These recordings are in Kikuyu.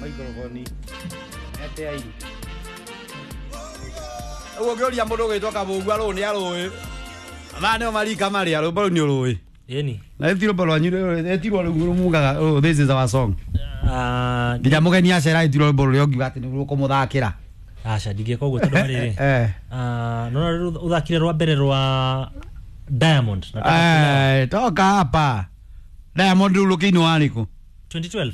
Microphone. Ete ai. Ugo ngĩũria mũndũ ũgwĩtwo Kabũgua rũũ nĩ arũĩ. Maya nĩo marika marĩa rwĩmbo rũu nĩ ũrũĩ. Yeni. Na ĩti rwĩmbo rwanyu ĩtirwo rũu mugaga, "Oh, this is our song." Ah, Nginya mũgeni acera ĩtirwo rwĩmbo rũrĩa ũngiuga atĩ nĩ rũkũmũthakĩra. Aca ndingĩka ũguo tondũ rĩrĩ. Eh. Ah, nona uthakire rwa mbere rwa Diamond. Nataka kulewa. Eh, toka hapa. Diamond rĩu rũkĩinwo warĩkũ? 2012.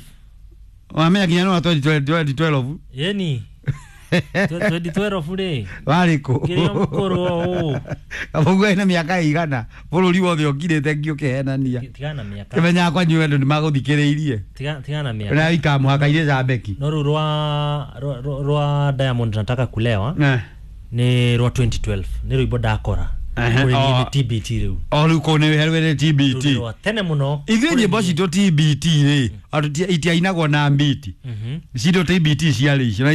Wamenya nginya nĩ wa 2012. Yeni. 2012 rĩ. Warĩkũ? Ngĩrĩ o mũkũrũ o ũũ. Kabũgua ena mĩaka ĩigana bũrũri wothe ũkirĩte ngĩũkĩhenania. Tigana na mĩaka. Kĩmenyaga kwanyu andũ nĩ magũthikĩrĩirie. Tigana na mĩaka. Na ika mũhaka-inĩ Zambeki. No rĩu rwa Diamond Nataka Kulewa Eh. nĩ rwa 2012 nĩ rwĩmbo ndakora. Ehe, Kũrĩ niĩ o. nĩ TBT rĩu. O rĩu kũu nĩ herwere Rĩu TBT. nĩ rwa tene mũno. Ithuĩ Kũrĩ nyĩmbo niĩ. citũ TBT rĩ, andũ itiainagwo na mbiti. Mhm. Citũ TBT ciarĩ icio na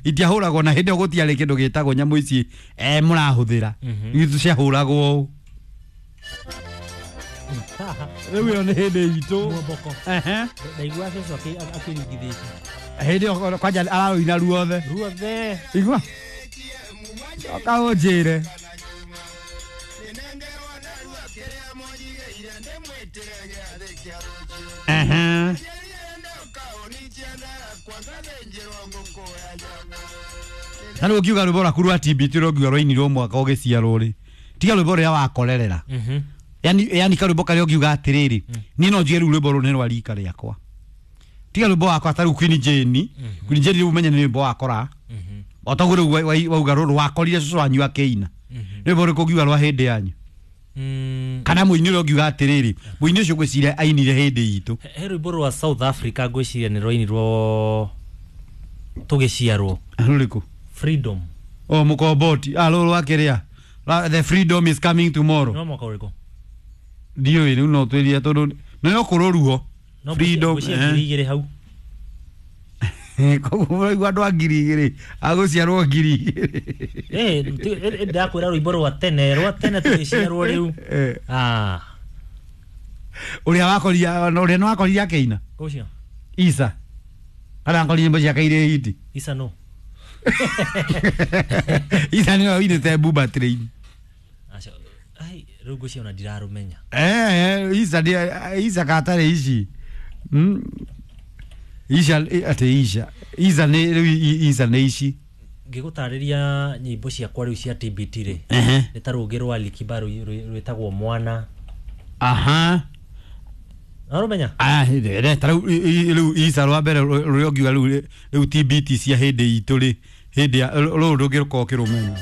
itiahũragwo na hĩndĩ ĩyo gũtiarĩ kĩndũ gĩtagwo nyamũ ici mũrahũthĩra. Mhm. Ithuĩ ciahũragwo ũũ. Rĩu ĩyo nĩ hĩndĩ itũ. Muomboko. Ehe. Ndaigua cũcũ akĩringithĩtie. Hĩndĩ ĩyo kwanja ararũina ruothe. Ruothe. Igua. Coka ũnjĩre. Ehe. Na rĩu ũngiuga rwĩmbo rwaku rwa TBT rũngiuga rwainirwo mwaka ũgĩciarwo rĩ, tiga rwĩmbo rũrĩa wakorerera. Mhm. Yani karwĩmbo karĩa ũngiuga atĩrĩrĩ, niĩ no njuge rĩu rwĩmbo rũrũ nĩ rwa rika rĩakwa. Tiga rwĩmbo wakwa ta rĩu Queen Jane. Queen Jane rĩu ũmenye nĩ rwĩmbo wakora. Mhm. O taguo rĩu wauga rũrũ wakorire cũcũ wanyu akĩina. Mhm. Rwĩmbo rũrĩkũ ũngiuga rwa hĩndĩ yanyu? Mm. Kana mũini ũrĩa ũngiuga atĩrĩrĩ, mũini ũcio ngwĩciria ainire hĩndĩ itũ. He rwĩmbo rwa South Africa ngwĩciria nĩ rwainirwo tũgĩciarwo. Rũrĩkũ? Freedom. O mũkomboti. Ah, rũrũ rwa kĩrĩa. The freedom is coming tomorrow. No mwaka ũrĩkũ? Ndiũĩ rĩu no twĩrire tondũ nĩ no kũrũruo. No Freedom. ngwĩciria 2000 hau. Koguo mũraigua andũ a 2000 agũciarwo 2000. Eh, ndakwĩra rwĩmbo rwa tene, rwa tene tũgĩciarwo rĩu. Eh. Ah, Ũrĩa wakoria, ũrĩa nĩ wakorire akĩina? ũcio. Isa. Kana akorire nyĩmbo ciake irĩ hiti. Isa no. Isa nĩwe ũinĩte Bumba Train. Aca, ai, rĩu ngwĩciria ona ndirarũmenya. Eh, Isa nĩ Isa katarĩ ici. Isa atĩ Isa. Isa nĩ rĩu Isa nĩ ici. Ngĩgũtarĩria nyĩmbo ciakwa rĩu cia TBT rĩ. Ehe. Nĩ ta rũngĩ rwa Alikiba rwĩtagwo Mwana. Aha. Arũmenya? Ah, rĩ ta rĩu rĩu Isa rwa mbere rũrĩa ũngiuga rĩu rĩu TBT cia hĩndĩ itũ rĩ, hĩndĩ ya rũrũ ndũngĩrũkorwo ũkĩrũmenya.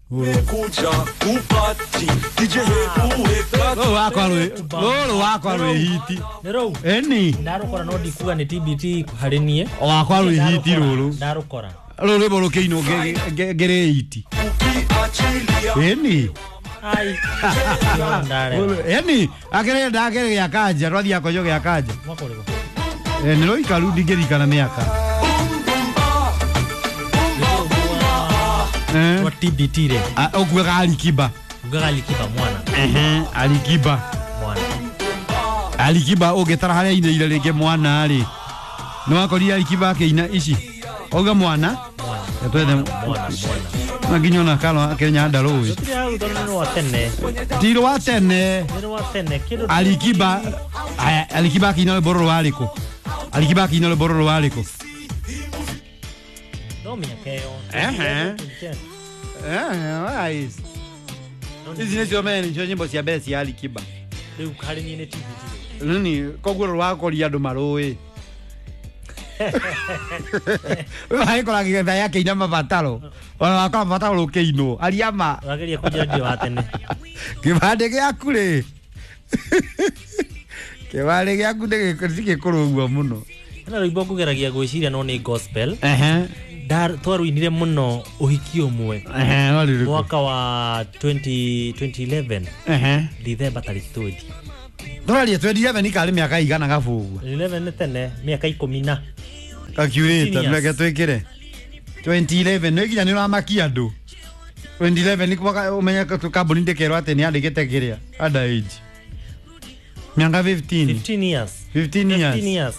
Kuja kupati DJ hebu Rũrũ wakwa rwĩ rũrũ wakwa rwĩ hiti. Nĩ rũu. Ĩni. Ndarũkora no ndikuga nĩ TBT harĩ niĩ. Wakwa rwĩ hiti rũrũ. Ndarũkora. Rũrũ rwĩmbo rũkĩinwo ngĩrĩ hiti. ukiachilia Ĩni. Ai. Ndarega. Ĩni akĩrĩ ndakĩrĩ gĩa kanja twathiaga kũnyua gĩa kanja. Mwaka ũrĩkũ? Nĩ rũikaru ndingĩririkana mĩaka. Eh. Rwa TBT rĩ. Ah, ũkuaga Alikiba. Ugaga Alikiba mwana. Ehe, Alikiba. Mwana. Alikiba ũngĩtara harĩa ainĩire rĩngĩ mwana rĩ. Nĩ wakorire Alikiba akĩina ici. Auga mwana. Mwana. Twethe Mwana, mwana. na nginya ona Karo Kenya ndarũĩ. Tũtirĩ hau tondũ nĩ rwa tene. Ti rwa tene. Nĩ rwa tene. Kĩndũ Alikiba aya Alikiba akĩina rwĩmbo rũrũ warĩkũ? Alikiba akĩina rwĩmbo rũrũ warĩkũ? No mĩaka ĩyo. Ehe. Eh, ici nĩcio mene nĩcio nyĩmbo cia mbere cia Alikiba. Rĩu harĩ niĩ nĩ TBT. Nini koguo rũrũ wakoria andũ marũĩ. Wagĩkora gĩgetha yakĩina mabataro. Ona wakora mabataro rũkĩinwo. Aria ma. Ũrageria kũnjĩra ndirĩ wa tene. Kĩbandĩ gĩaku rĩ. Kĩbandĩ gĩaku nĩ gĩkũrũ ũguo mũno. Hena rwĩmbo ngũgeragia gwĩciria no nĩ gospel. Ehe. Twarũinire mũno ũhiki ũmwe. Ehe, warĩ ũrĩkũ? Mwaka wa 2011. Ehe. December tarĩki 20. Tũraria 2011 ikarĩ mĩaka igana gabũgua. 11 nĩ tene mĩaka 10 na. Calculator 15 years. reke twĩkĩre. 2011 nĩ nginya nĩ ũramakia andũ. 2011 nĩ mwaka ũmenye kambuni ndĩkerwo atĩ nĩ yandĩkĩte kĩrĩa under age. Mĩaka 15. 15 years. 15 years. 15 years.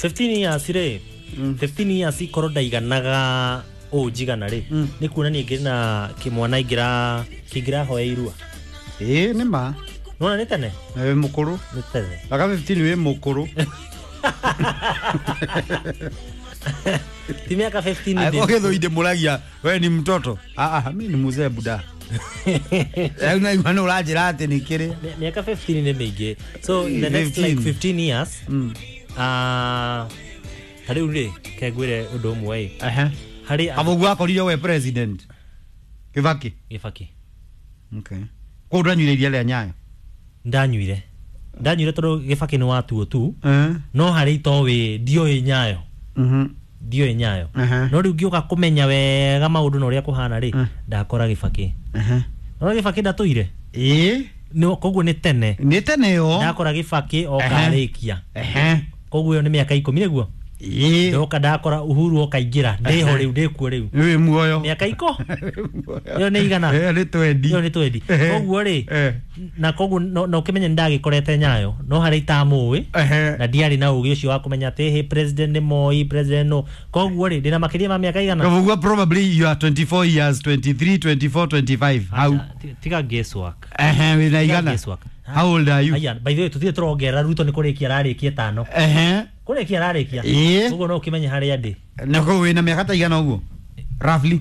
15 years rĩ. 15 years ikorwo ndaiganaga ũũ njigana rĩ, nĩ kuonania ngĩrĩ na kĩmwana ingĩra kĩngĩrahoya irua. Ĩĩ nĩ ma. Nona nĩ tene. Na wĩ mũkũrũ. Nĩ tene. Mĩaka 15 wĩ mũkũrũ. Ti mĩaka 15 ndĩ. Gĩthũi ndĩmũragia we ni mtoto. Ah ah, mimi ni mzee buda. Rĩu naigua nĩ ũranjĩra atĩ nĩ kĩrĩ. Mĩaka 15 nĩ mĩingĩ. So in the next like 15 years, ta rĩu rĩ, ke ngwĩre ũndũ ũmwe ĩ. Harĩ Kabogu akorire we president. Kibaki. Gĩbaki. Okay. Koguo ndwanyuire iria rĩa Nyayo? Ndanyuire. Ndanyuire tondũ Gĩbaki nĩ watuo tu. No harĩ itoĩ ndioĩ Nyayo. Ndioĩ Nyayo. No rĩu ngĩũka kũmenya wega maũndũ na ũrĩa kũhana rĩ, ndakora Gĩbaki. No Gĩbaki ndatũire. Ĩĩ. Koguo nĩ tene. Nĩ tene yo. Ndakora Gĩbaki okarĩkia. Koguo ĩyo nĩ mĩaka 10 nĩguo. Ĩĩ. Ndoka ndakora Uhuru okaingĩra ndĩho rĩu ndĩkuo rĩu. Wĩ muoyo. Mĩaka iko. Ĩyo nĩ igana. Nĩ twendi. Ĩyo nĩ twendi. Koguo rĩ, na koguo no ũkĩmenye nĩ ndagĩkorete Nyayo, no harĩa itamũĩ na ndiarĩ na ũgĩ ũcio wa kũmenya atĩ hĩ president nĩ Moi, president no. Koguo rĩ, ndĩna makĩria ma mĩaka igana. Koguo probably you are 24 years, 23, 24, 25. How? Tiga guesswork. Wĩna igana. How old are you? Aya, by the way, tuthiĩ tũrongerera Ruto nĩ kũrĩkia ararĩkia 5. Kũrĩkia ararĩkia. Koguo no ũkĩmenye harĩa ndĩ. Na koguo wĩna mĩaka ta igana ũguo? Roughly.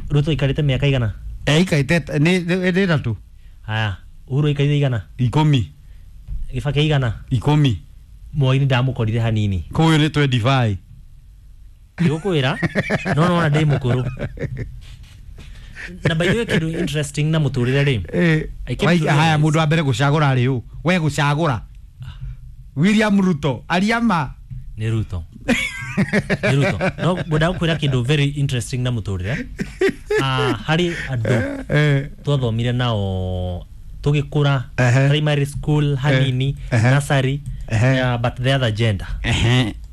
Ruto aikarĩte mĩaka igana? Aikarĩte nĩ 3. Haya, Uhuru aikarĩte igana? 10. Gĩbaki igana? 10. Moi nĩ ndamũkorire hanini. Koguo nĩ 25. Ndigũkwĩra, no nona ndĩ mũkũrũ. Na by the way kĩndũ interesting na mũtũrĩre rĩ. Haya, mũndũ wa mbere gũcagũra rĩ ũ? We gũcagũra. William Ruto, aria ma. Nĩ Ruto. Nĩ Ruto. No ngwenda gũkwĩra kĩndũ very interesting na mũtũrĩre. Harĩ andũ twathomire nao tũgĩkũra primary school hanini, nursery, but the other gender.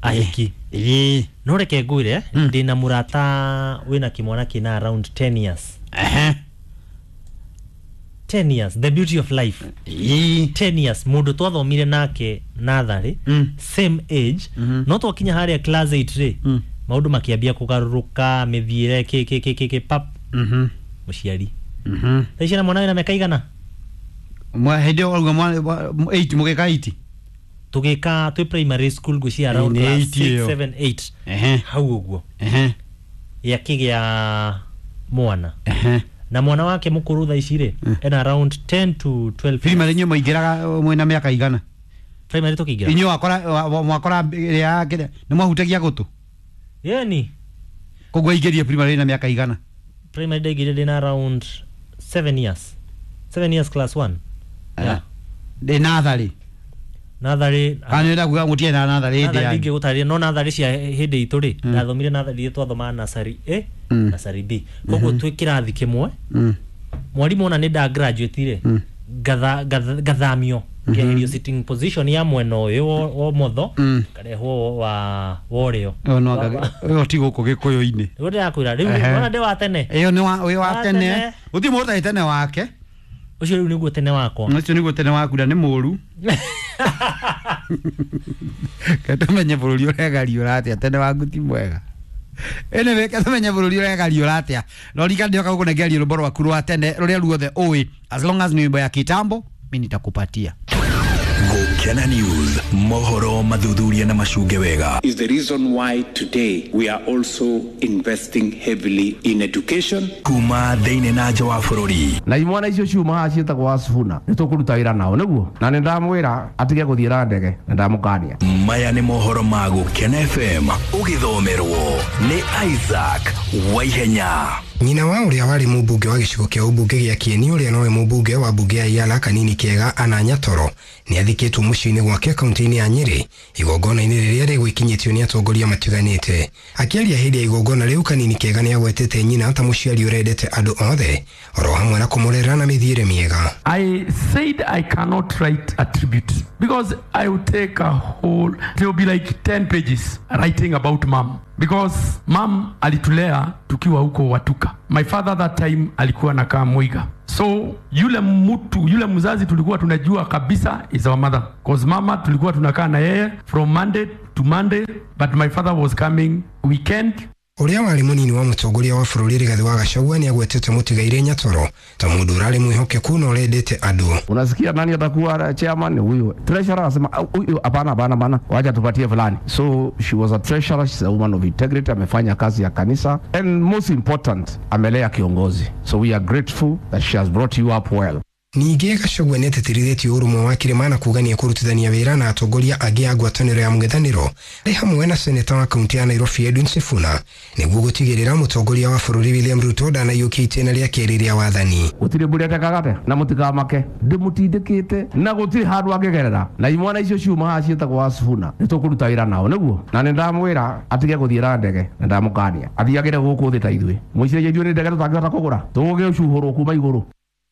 Ahiki. No reke ngwĩre, ndĩna mũrata wĩna kĩmwana kĩna around 10 years. 10 years, the beauty of life. 10 years, mũndũ twathomire nake natharĩ, same age, no twakinya harĩa class 8 rĩ, maũndũ makĩambia kũgarũrũka, mĩthiĩre kĩ pap. Mũciari. Thaa ici na mwana wĩna mĩaka igana? Hĩndĩ ĩyo wauga mwana 8 mũgĩka 8? Tũgĩka twĩ primary school ngwĩciria around class 6, 7, 8. Hau ũguo. Yakĩgĩa mwana. Na mwana wake mũkũrũ thaa ici rĩ, ena around 10 to 12. Primary inyuĩ mũingĩraga mwĩna mĩaka igana? Primary tũkĩingĩra? Inyuĩ mwakora nĩ mwahutagia gũtũ? Yeni. Koguo aingĩrie primary na mĩaka igana? Primary ndaingĩrire ndĩna around 7 years. 7 years class 1. Yeah. Ndĩ natharĩ. Natharĩ. Kana nĩ ndakuga mũtiarĩ na natharĩ hĩndĩ yanyu? Ndingĩgũtarĩria, no natharĩ cia hĩndĩ itũ rĩ, ndathomire natharĩ iria twathomaga nursery A, nursery B. Koguo twĩ kĩrathi kĩmwe, mwarimũ ona nĩ nda graduate rĩ, ngathamio, ngeherio sitting position ya mwena ũyũ wa ũmotho, ngarehwo wa ũrĩo. Ĩyo ti gũkũ Gĩkũyũ-inĩ. Nĩguo ndĩrakwĩra, rĩu wona ndĩ wa tene. Ĩyo nĩ wĩ wa tene. Gũtirĩ mũndũ ũtarĩ tene wake. Ũcio rĩu nĩguo tene wakwa. Ũcio nĩguo tene waku na nĩ mũru. Ketumenye bũrũri ũregariũra atĩa, tene waku ti mwega. Anyway, ketumenye bũrũri ũregariũra atĩa. No rika ndioka gũkũnengeria rwĩmbo rwaku rwa tene rũrĩa ruothe ũĩ, as long as ni wimbo ya kitambo, mi nitakupatia. Gukena News, mohoro mathuthuria na macunge wega. Is the reason why today we are also investing heavily in education. Kuma thĩinĩ na nja wa bũrũri. Na imwana icio ciuma haha ciĩtagwo Asifuna nĩ tũkũruta wĩra nao nĩguo, na nĩ ndamwĩra atige gũthiĩ na ndege na ndamũkania. Maya nĩ mohoro ma Gukena FM ũgĩthomerwo nĩ Isaac Waihenya. Nyina wa ũrĩa warĩ mũmbunge wa gĩcigo kĩa ũmbunge gĩa Kieni ũrĩa nowe mũmbunge wa mbunge ya Iala Kanini Kĩega Anna Nyatoro nĩ athikĩtwo mũciĩ-inĩ gwake kaunti-inĩ ya Nyĩrĩ igongona-inĩ rĩrĩa rĩgwĩkinyĩtio nĩ atongoria matiganĩte. Akĩaria hĩndĩ ya igongona rĩu, Kanini Kĩega nĩ agwetete nyina ta mũciari ũrendete andũ othe oro hamwe na kũmũrera na mĩthiĩre mĩega. I said I cannot write a tribute because I would take a whole, it will be like 10 pages writing about mom. Because mom alitulea tukiwa huko Watuka. My father that time alikuwa anakaa Muiga. So yule mtu yule mzazi tulikuwa tunajua kabisa is our mother, cause mama tulikuwa tunakaa na yeye from Monday to Monday, but my father was coming weekend. Ũrĩa warĩ mũnini wa mũtongoria wa bũrũri Rigathĩ wa Gachagua nĩ agwetete mũtigairĩ Nyatoro ta mũndũ ũrarĩ mwĩhokeku na ũrendete andũ. Unasikia nani atakuwa chairman? Huyu treasurer anasema huyu hapana, hapana, hapana, wacha tupatie fulani. So she was a treasurer, she's a woman of integrity, amefanya kazi ya kanisa and most important, amelea kiongozi. So we are grateful that she has brought you up well. Ningĩ Gachagua nĩ atĩtĩrithĩtie ũrũmwe wa kĩrĩma na kuga nĩ ekũrutithania wĩra na atongoria angĩ a ngwatanĩro ya mũng'ethanĩro arĩ hamwe na seneta wa kaunti ya Nairobi Edwin Sifuna nĩguo gũtigĩrĩra mũtongoria wa bũrũri William Ruto ndanaiyũkia itĩna rĩa kerĩ rĩa wathani. Gũtirĩ mbũri atekaga na mũtikamake ndĩmũtindĩkĩte na gũtirĩ handũ angĩgerera na imwana icio ciuma haha ciĩtagwo Asifuna nĩ tũkũruta wĩra nao nĩguo na nĩ ndamwĩra atige gũthiĩra ndege na ndamũkania athiagĩre gũkũ thĩ ta ithuĩ mwĩciragia ithuĩ nĩ ndege tũtangĩhota kũgũra tũgũgĩcuhũrwo kuma igũrũ.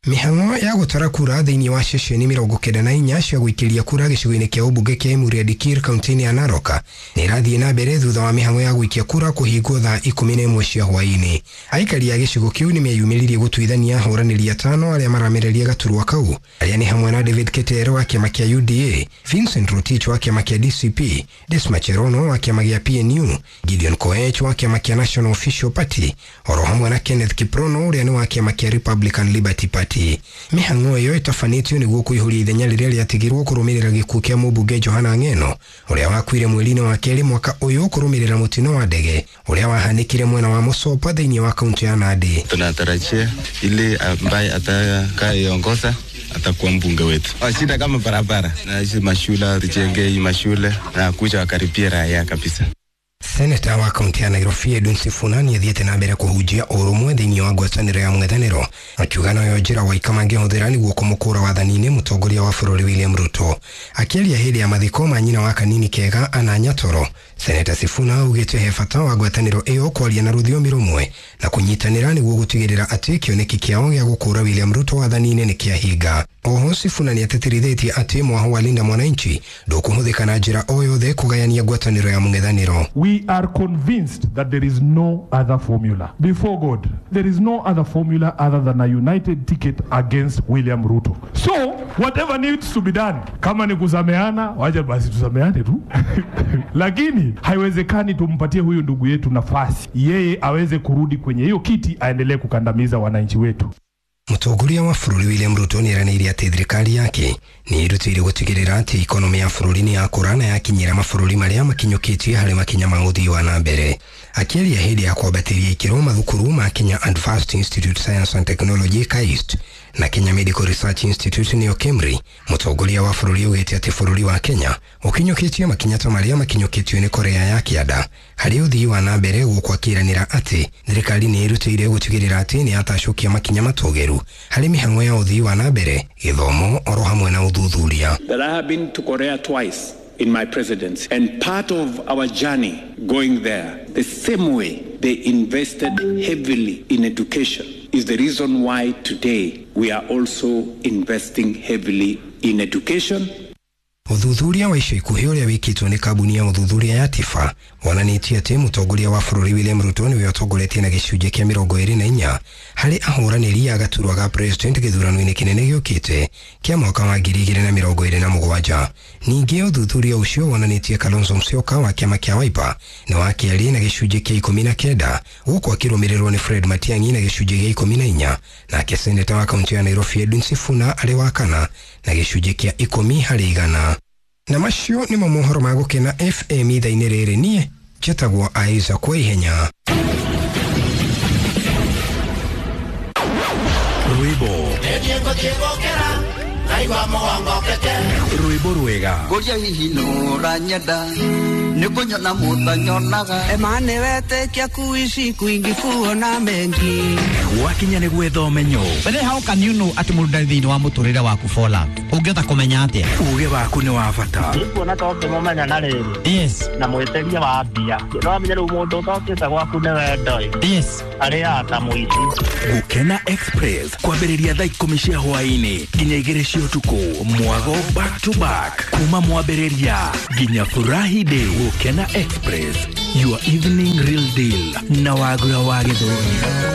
Mĩhang'o ya gũtara kura thĩinĩ wa ceceni 94 cia gũikĩria kura gĩcigo-inĩ kĩa ũmbunge kĩa Emurua Dikirr kaunti-inĩ ya Narok nĩ ĩrathiĩ na mbere thutha wa mĩhang'o ya gũikia kura kũhingwo thaa 11 cia hwaĩ-inĩ. Aikari a gĩcigo kĩu nĩ meyumĩririe gũtuithania ahũranĩri atano arĩa maramereria gaturwa kau arĩa nĩ hamwe na David Ketero wa kĩama kĩa UDA, Vincent Rotich wa kĩama kĩa DCP, Desma Cherono wa kĩama gĩa PNU, Gideon Koech wa kĩama kĩa National Official Party oro hamwe na Kenneth Kiprono ũrĩa nĩ wa kĩama kĩa Republican Liberty Party. Mĩhang'o ĩyo ĩtabanĩtio nĩguo kũihũria ithenya rĩrĩa rĩatigirwo kũrũmĩrĩra gĩkuũ kĩa mũmbunge Johana Ng'eno ũrĩa wakuire mweri-inĩ wa kerĩ mwaka ũyũ kũrũmĩrĩra mũtino wa ndege ũrĩa wahanĩkire mwena wa Mũsopa thĩinĩ wa kaunti ya Nandi. Tunatarajia ile ambaye atakayeongoza atakuwa mbunge wetu. Shida kama barabara na hizi mashule, tujenge hii mashule na kuja wakaribia raia kabisa. Seneta wa kaunti ya Nairobi Edwin Sifuna nĩ athiĩte na mbere kũhunjia ũrũmwe thĩinĩ wa ngwatanĩro ya mũng'ethanĩro akiuga noyo njĩra waika mangĩhũthĩra nĩguo kũmũkũra wathani-inĩ mũtongoria wa bũrũri William Ruto. Akĩaria hĩndĩ ya mathiko ma nyina wa Kanini Kega Anna Nyatoro, Seneta Sifuna augĩte he bata wa ngwatanĩro ĩyo kwaria na rũthiomi rũmwe na kũnyitanĩra nĩguo gũtigĩrĩra atĩ kĩoneki kĩao gĩa gũkũra William Ruto wathani-inĩ nĩ kĩahinga. Oho Sifuna nĩ atĩtĩrithĩtie atĩ mwaho wa Linda Mwananchi ndũkũhũthĩka na njĩra o yothe kũgayania ngwatanĩro ya mũng'ethanĩro. We are convinced that there is no other formula. Before God, there is no other formula other than a united ticket against William Ruto. So, whatever needs to be done, kama ni kusameana, wacha basi tusameane tu. Lakini haiwezekani tumpatie huyu ndugu yetu nafasi, yeye aweze kurudi kwenye hiyo kiti aendelee kukandamiza wananchi wetu. Mũtongoria wa bũrũri William Ruto nĩ eranĩire atĩ thirikari yake nĩ ĩrutĩire gũtigĩrĩra atĩ ikonomĩ ya bũrũri nĩ yakũra na yakinyĩra mabũrũri marĩa makinyũkĩtie harĩ makinya ma ũthii wa na mbere. Akĩaria hĩndĩ ya kwambatĩria ikĩro mathukuru ma Kenya Advanced Institute Science and Technology KAIST na Kenya Medical Research Institute nĩyo KEMRI, mũtongoria wa bũrũri augĩte atĩ bũrũri wa Kenya ũkinyũkĩtie makinya ta marĩa makinyũkĩtio nĩ Korea ya Kĩanda harĩ ũthii wa na mbere gũkũ akĩĩranĩra atĩ thirikari nĩ ĩrutĩire gũtigĩrĩra atĩ nĩ yatacũkia makinya matũgĩru harĩ mĩhang'o ya ũthii wa na mbere, gĩthomo oro hamwe na ũthuthuria. That I have been to Korea twice in my presidency, and part of our journey going there, the same way they invested heavily in education is the reason why today we are also investing heavily in education. Ũthuthuria wa ica ikuhĩ ũrĩa wĩkĩtwo nĩ kambuni ya ũthuthuria ya Tifa wonanĩtie atĩ mũtongoria wa bũrũri William Ruto nĩwe ũtongoretie na gĩcunjĩ kĩa 24 harĩ ahũranĩri a gaturwa ga president gĩthurano-inĩ kĩnene gĩũkĩte kĩa mwaka wa 2027. Ningĩ ũthuthuria ũcio wonanĩtie Kalonzo Musyoka wa kĩama kĩa Wiper nĩ wa kerĩ na gĩcunjĩ kĩa 19 gũkũ akĩrũmĩrĩrwo nĩ Fred Matiang'i na gĩcunjĩ gĩa 14, nake seneta wa kaunti ya Nairobi Edwin Sifuna arĩ wa kana na gĩcunjĩ kĩa 10 harĩ igana. Na macio nĩmo mohoro ma Gũkena FM ithaa-inĩ rĩrĩ. Niĩ njĩtagwo Isaac Waihenya. Rwĩmbo rwĩmbo rwega Ngũria hihi nũranyenda nĩ kũnyona mũtanyonaga Emane wetĩkia kuishi kwingi kuona mengi gwakinya nĩ gwetha ũmenyo. But how can you know atĩ mũndũ ndarĩ thĩinĩ wa mũtũrĩre waku for love? Ũngĩhota kũmenya atĩa? Uge waku nĩ wa bata. Ndikuona ta ũngĩmũmenya na rĩrĩ. Yes. Na mwĩtĩria wa mbia. No amenye rĩu mũndũ ũtokĩte gwaku nĩ wendo ĩ. Yes. Arĩaga ta mũici. Gũkena Express kwambĩrĩria thaa 10 cia hwaĩ-inĩ nginya 2 cia ũtukũ, mwago back to back kuma mwambĩrĩria nginya furahi day. Gũkena Express, your evening real deal na Wagura wa Gĩthũri.